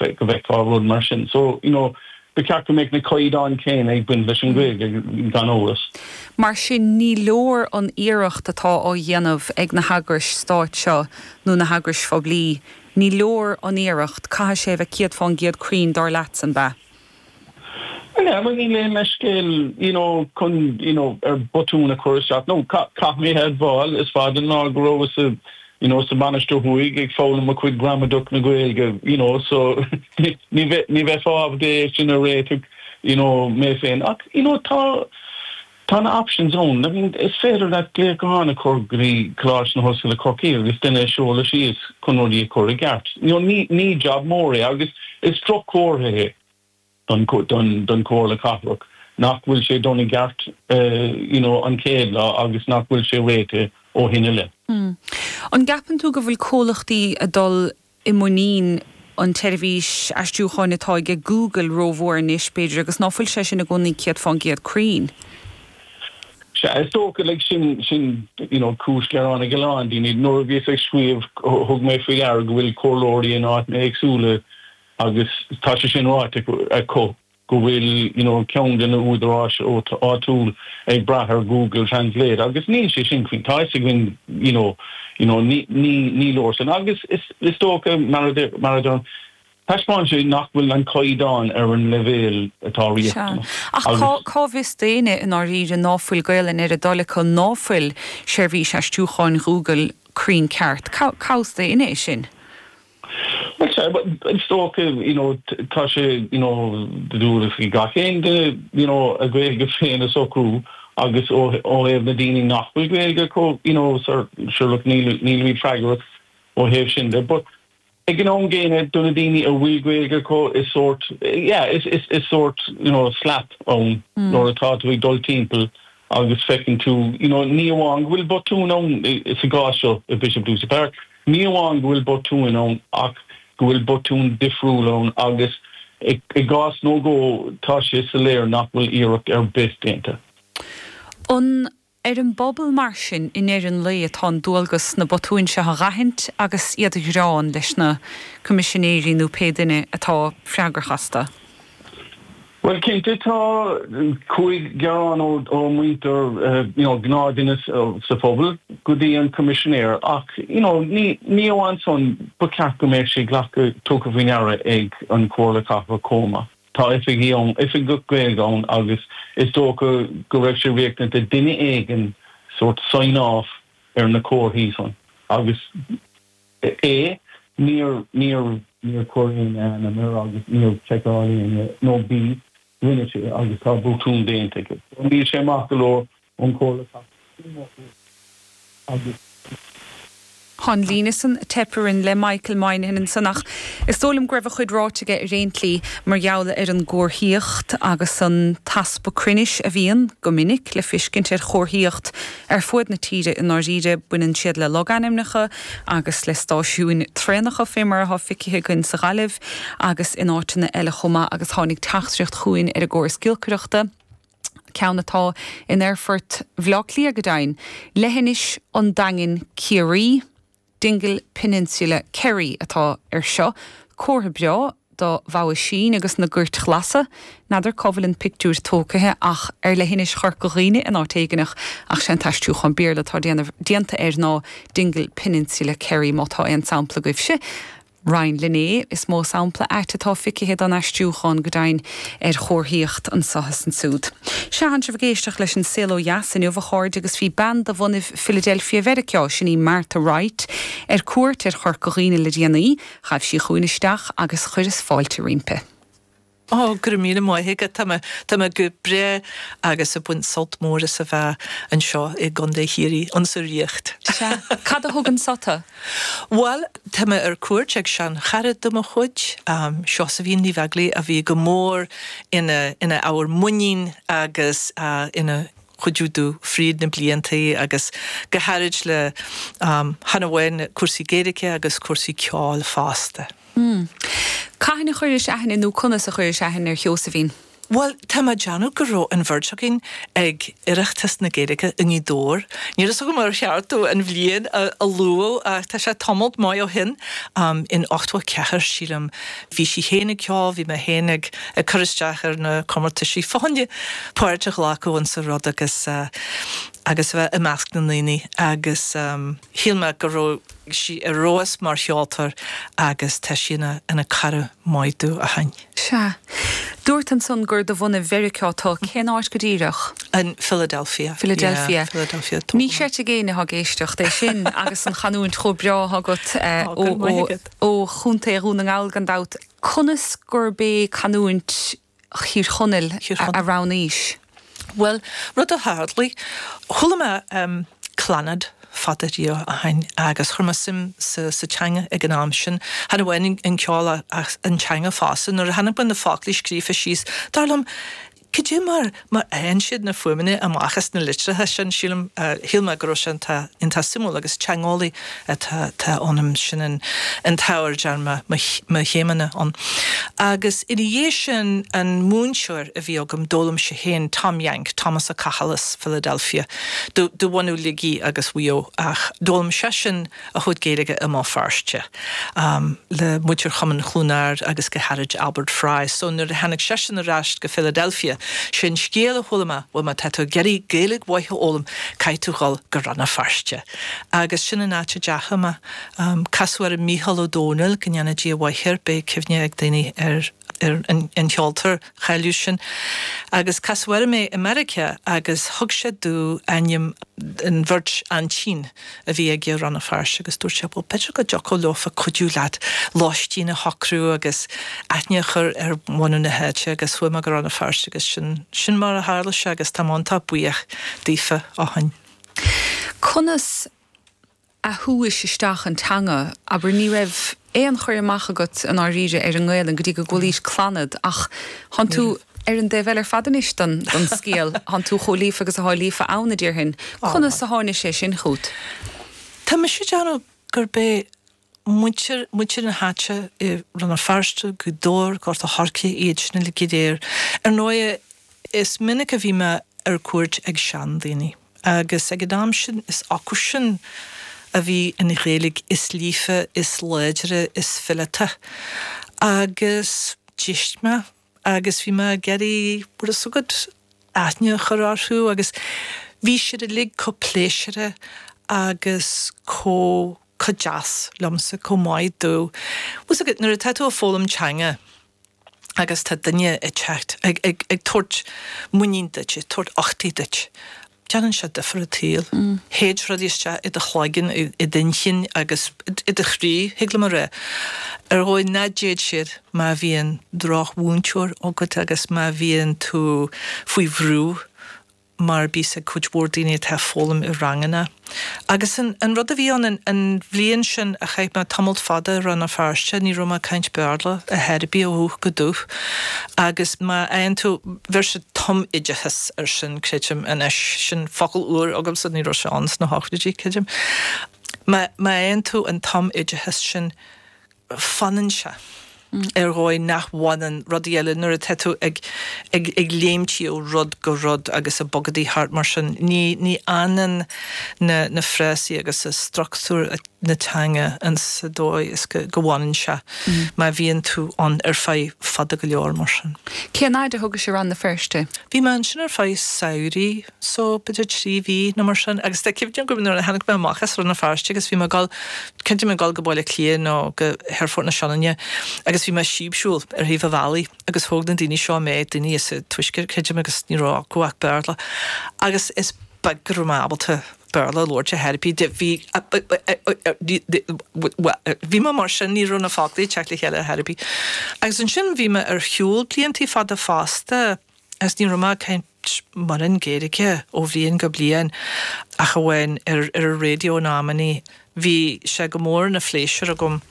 Go bhfeicfeá rud mar sin. So, you know, ba cheart go mbeadh na caighdeáin céanna ag baint leis an Ghaeilge, gan amhras. Mar sin, ní leor an iarracht atá á dhéanamh ag na heagrais stáit seo nó na heagrais phoiblí, ní leor an iarracht, caithfidh sé a bheith 100% cruinn, dar leatsa, an ea? Yeah, bhuel níl aon leithscéal, you know, chun, you know, ar botún a chur isteach. No, caithfidh mé a admháil, is fada an lá go rabhas sa, you know, sa Mhainistir Thuaidh ag foghlaim mo chuid gramadach na Gaeilge, you know, so ní bheith, ní bheifeá ábalta é sin a réiteach, you know, mé féin. Ach, you know, tá, tá na options ann. I mean, is féidir leat glaoch gutháin a chur go dtí Coláiste na hOllscoile Corcaigh agus duine a sheoladh síos chun rudaí a chur i gceart. You know, ní, ní job mór é agus is droch-chomhartha é. don Chomhairle Cathrach nach bhfuil sé done i gceart you know an chéad lá agus nach bhfuil sé réitithe ó shin i leith. An gceapann tú go bhfuil comhlachtaí ag dul i muinín an tseirbhís aistriúcháin atá aige Google rómhór anois, b'fhéidir, agus ná fuil sé sin i gcónaí 100% cruinn? Sea, is dócha, like, sin, sin, you know, cúis ghearáin ag a lán daoine. Nuair a bhíos ag scríobh, thug mé faoi deara go bhfuil comhairleoirí in áiteanna éagsúla Agus tá sé sin ráite acu go bhfuil you know ceann de na údaráis áitiúil ag brath ar Google Translate agus níl sé sin cruinn. Tá a fhios againn you know you know ní ní ní leor sin agus is is dócha mar a deir mar a deirim taispeánann sé nach bhfuil an caighdeán ar an leibhéal atá Sea. riachtanach Ach cá agus. cá bhfios d'éinne i ndáiríre ná fuil Gaelainn ar a dtoil acu ná fuil seirbhís aistriúcháin Google cruinn ceart? Cá cá bhfios d'éinne é sin? Bhuel, sea, is dócha, you know, tá sé, you know, de dhualgas ag gach aon duine, you know, a Ghaeilge féin a socrú agus ó thaobh na daoine nach bhfuil Gaeilge acu, you know, sure, look, níl, nílimid freagrach ó thaobh sin de. But ag an am gcéanna, do na daoine a bhfuil Gaeilge acu, is sórt, yeah, is, is, is sórt, you know, slap ann nuair atá tú ag dul timpeall agus feiceann tú, you know, ní amháin go bhfuil botún ann sa gcás seo i Bishop Ducie Park, ní amháin go bhfuil botúin ann ach go bhfuil botún difriúil ann agus i gcás nó dhó tá sé soiléir nach bhfuil iarracht ar bith déanta. An ar an bpobal mar sin i ndeireadh an lae atá an dualgas na botúin seo a dh'aithint agus iad a ghearán leis na Coimisinéirí nó pé duine atá freagrach astu? Bhuel, cinnte, tá chuaigh gearán ó mhuintir, you know, gnáthduine sa phobal go dtí an Coimisinéir ach, you know, ní ní amháin san, ba cheart go mbeadh sé glactha, tugtha faoi ndeara ag an Chomhairle Cathrach chomh maith. Tá oifigí ann, oifigeach Gaeilge ann agus is dócha go raibh sé riachtanach do duine éigin sórt sign off ar na comharthaí san agus, A, Níor, níor, níor chuir éinne a ainm air agus níor sheiceáil éinne, nó B, rinne sé agus tá botún déanta aige. So níl sé maith go leor ón Chomhairle Cathrach agus. Tá an líne san ag teip orainn le Michael Moynihan ansan ach is dóigh liom go raibh a chuid ráite aige ar aon tslí mar gheall ar an gcomharthaíocht agus an t-easpa cruinnis a bhíonn, go minic, le fiscint ar chomharthaíocht ar fuaid na tíre i ndáiríre. Baineann siad le logainmneacha, agus le stáisiúin traenacha fé mar atá feicthe againn sa Ghaillimh agus in áiteanna eile chomh maith agus tháinig teachtaireacht chugainn ar an gcóras giolcaireachta, ceann atá in aerfort Bhaile Átha Cliath go deimhin, Leithinis an Daingin Ciarraí, Dingle Peninsula Kerry atá air seo, comhartha breá. do Mhogha Sín agus na Goirt Ghlasa. N'fheadar cá bhfuil an pictiúr tógtha ach ar leithinis Chorca Dhuibhne in áit éigineach ach sé an t-aistriúchán Béarla atá déanta air ná Dingle Peninsula Kerry. Má tá aon sampla agaibhse, roinn linn é. Is mó sampla ait atá feicthe don aistriúchán go deimhin ar chomharthaíocht anso is ansúd. Sea, tánn sibh ag éisteacht leis An Saol Ó Dheas inniu, a chairde, agus bhí bean de bhunaibh Philadelphia Mheiriceá, sin í Martha Wright, ar cuairt ar Chorca Dhuibhne le déanaí. Ghabh sí chugainn isteach agus chuireas fáilte roimpi. Ó, go raibh míle maith agat. Tá mé, tá mé go breá agus ag baint sult mór as a bheith anseo i gContae Chiarraí, insa Ríocht. Sea. Cad a thug anso tu? Bhuel, tá mé ar cuairt ag seanchara de mo chuid, Seosaimhín Ní Bheaglaoich, a bhí go mór ina, ina ábhar muinín agus ina chuidiú domh fríd na bliantaí agus go háirid le chan amháin cúrsaí Gaeilge agus cúrsaí ceoil fosta. Cathain a chuiris aithne nó conas a chuiris aithne ar Sheosaimhín? Bhuel, tá mé ag déanamh go raibh an bheirt againn ag Oireachtas na Gaeilge i nGaoth Dobhair. Níl fhios agam ar cheart domh an bhliain a lua ach tá sé tamalt maith ó shin, in 84, sílim. Bhí sí féin ag ceol, bhí mé féin ag cur isteach ar na comórtaisí fá choinne páirt a ghlacadh insa rud agus agus a bheith i measc na ndaoine agus shíl mé go raibh sí ar fheabhas mar cheoltóir agus tá sí ina cara maith domh ó shin. Sea. Dúirt ansan gur de bhunadh Mheiriceá tú. Cén áit go díreach? In Philadelphia. Philadelphia. Yeah, Philadelphia. Ní chreidfidh éinne atá ag éisteacht é sin agus an chanúint chomh breá atá agat ó Chontae Dhún na nGall gan dabht. Conas gurb é canúint Thír Chonaill a roghnaís? Bhuel, rud a tharlaigh, chuala mé Clannad fada riamh ó shin agus chuir mé suim sa teanga ag an am sin. Chan amháin an ceol ach an teanga fosta. Nuair a chonaic mé na foclaí scríofa síos, dar liom, cad é mar mar a fhaigheann siad na fuaimeanna amach as na litreacha sin, sílim, shíl mé go raibh sé iontach suimiúil agus teangeolaí atá ionam, sin an t-ábhar a dtearn mé mo chéimeanna ann. Agus ina dhiaidh sin, an múinteoir a bhí agam, d'fhoghlaim sé féin Tom Yank, Thomas Ó Cathail as Philadelphia, de bhunadh Shligigh agus Mhaigh Eo, ach d'fhoghlaim seisean a chuid Gaeilge i mBéal Feirste le muintir Chumann Chluain Ard agus go háirid Albert Fry. So nuair a tháinig seisean ar ais go Philadelphia, sé an scéal a chuala mé, bhuel má tá tú ag iarraidh Gaeilge mhaith a fhoghlaim, caithfidh tú dhul go Rann na Feirste. Agus sin an áit a dteachaigh mé. Casadh orm Mícheál Ó Domhnaill, go ndéana Dia a mhaith air, beidh cuimhne ag daoine ar an cheoltóir cháiliúil sin. Agus casadh orm é i Meiriceá agus thug sé domh ainm an bheirt aintín a bhí aige i Rann na Feirste agus dúirt sé, bhuel b'fhéidir go dtiocfadh leofa cuidiú leat lóistín a shocrú agus aithne a chur ar bhunadh na háite agus chuaigh mé go Rann na Feirste agus sin, sin mar a tharla sé agus tá mé iontach buíoch daofa ó shin. Conas a shúis isteach an teanga? Abair, ní raibh aon chur amach agat i ndáiríre ar an nGaelainn go dtí go gcualaís Clannad ach thánn tú ar an dtaobh eile ar fad anois den scéal, thánn tú chomh líofa agus athá líofa ann, a déarfainn. Conas a tháinig sé sin chút? Tá mise ag déanamh gurb é muintir, muintir na háite i Rann na Feirste, Gaoth Dobhair, Gort a' Choirce, iad sin uilig go léir. Ar ndóigh, is minic a bhí mé ar cuairt ag seandaoine agus ag an am sin is acu sin a bhí an Ghaeilge is líofa, is láidre, is fileata agus d'éist mé agus bhí mé ag iarraidh, bhfuil fhios agat, aithne a chur orthu agus bhí siad uilig chomh pléisiúrtha agus chomh, chomh deas liomsa, chomh maith domh. Bhfuil fhios agat, nuair atá tú ag foghlaim teanga agus tá duine ag teacht, ag, ag, ag tabhairt muinín duit, ag tabhairt uchtaigh duit, Déanann sé difear an tsaoil. Théid rudaí isteach i do chloigeann, i d'inchinn agus i do chroí, thig liom a rá. Ar dhóigh ná dtéid siad má bhíonn drochmhúinteoir agat agus má bhíonn tú faoi bhrú mar a bíos ag cuid mhór daoine atá ag foghlaim i ranganna. Agus an rud a bhí ann an bhliain sin a chaith mé tamalt fada i Rann na Feirste, ní raibh mé ag caint Béarla ar chor ar bith ó dhúch go dúch. Agus má fhaigheann tú, bheir siad tumoideachas air sin, creidim, anois, sin focal úr agamsa, ní raibh sé ann sna hochtóidí, creidim. Má fhaigheann tú an tumoideachas sin, fanann sé ar dhóigh nach bhfanann rudaí eile nuair atá tú ag ag ag léimtí ó rud go rud agus ag bogadaí thart mar sin. Ní ní fhanann na na frásaí agus struchtúr na teanga in sa dóigh is go go bhfanann sé má bhíonn tú ann ar feadh fada go leor mar sin. Cén fhaid a thugais i Rann na Feirste? Bhí mé ansin ar feadh samhraidh. so b'fhéidir 3 mhí nó mar sin agus tá cuimhne agam nuair a tháinig mé amach as Rann na Feirste agus bhí mé ag dul, cinnte mé ag dul go Baile Átha Cliath nó go hAerfort na Sionainne agus bhí mé ag síobshiúl ar thaobh an bhealaigh agus thóg na daoine seo mé, daoine as an Tuaisceart creidim agus ní raibh acu ach Béarla agus is beag go raibh mé ábalta Béarla a labhairt ar chor ar bith, bhí, bhí mé mar sin, ní raibh na foclaí ag teacht le chéile ar chor ar bith. Agus ansin bhí mé ar shiúl bliantaí fada fosta. Agus ní raibh mé ag caint mórán Gaeilge ó bhliain go bliain ach amháin ar ar an raidió in amannaí. Bhí sé go mór ina phléisiúr agam.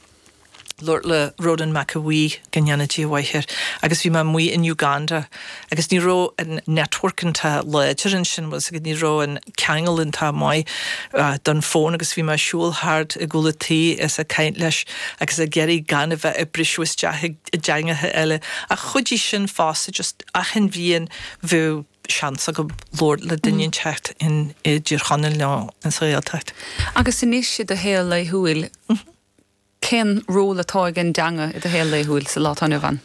Labhairt le Rónán Mac Aodha Bhuí, go ndéana Dia a mhaith air, agus bhí mé amuigh in Uganda agus ní raibh an network iontach láidir ansin, bhfuil 's agat, ní raibh an ceangal iontach maith don fón agus bhí mé ag siúl thart i gcúl an tí is ag caint leis agus ag iarraidh gan a bheith ag briseadh isteach i dteangacha eile. Ach chuidigh sin fosta, just achan bhliain bheadh seans agam labhairt le duine inteacht in i dTír Chonaill nó in sa Ghaeltacht. Agus anois i do shaol laethúil, Cén ról atá ag an dteanga i do shaol laethúil sa lá atá inniu ann?